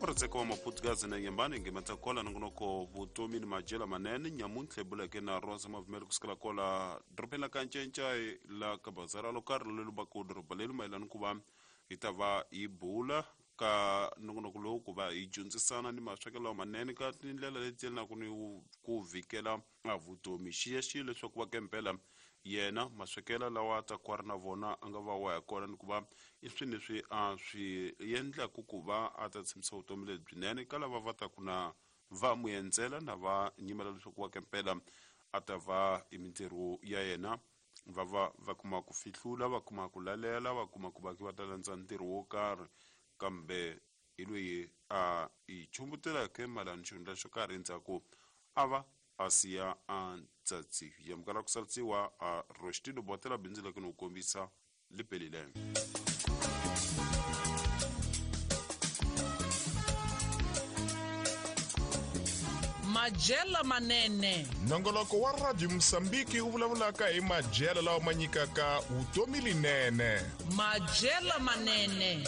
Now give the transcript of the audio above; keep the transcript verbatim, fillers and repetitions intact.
Murhandzeka wa Maputugazi na Nyambani ngemata kola nongonoko vutomi ni madyela manene nyamuntlha hi buleke na Rosa Mavumelo kusukela kola dorobeni la ka Ncencai la ka bazara lo karhi leri va ku doroba leri mayelana ku va hi ta va hi bula ka nongonoko lowu ku va hi dyondzisana ni maswekelo lamanene ka tindlela leti yelanaku ni ku vhikela a vutomi. Xiyaxiya leswaku va kempela yena maswekelo lawa a ta ku a ri na vona a nga va wa ya kona ni ku va i swilo leswi a swi endlaku ku va a ta tshembisa vutomi lebyinene ka lava va taku na va n'wi endzela na va nyimela leswaku wa kempela a ta va i mintirho ya yena va va va kuma ku fihlula, va kuma ku lalela, va kuma ku va va ta landza ntirho wo karhi, kambe hi loyi a hi chumbutelaka mayelana xihundla xo karhi endzhaku a va a siya a ntsatsi yamukela ku salisiwa a Rostino botela bindzu leke no kombisa lipelile. Madyela manene. Nongoloko wa Radio Mosambiki wu vulavulaka hi madyelo lawa ma nyikaka vutomi linene. Madyela manene.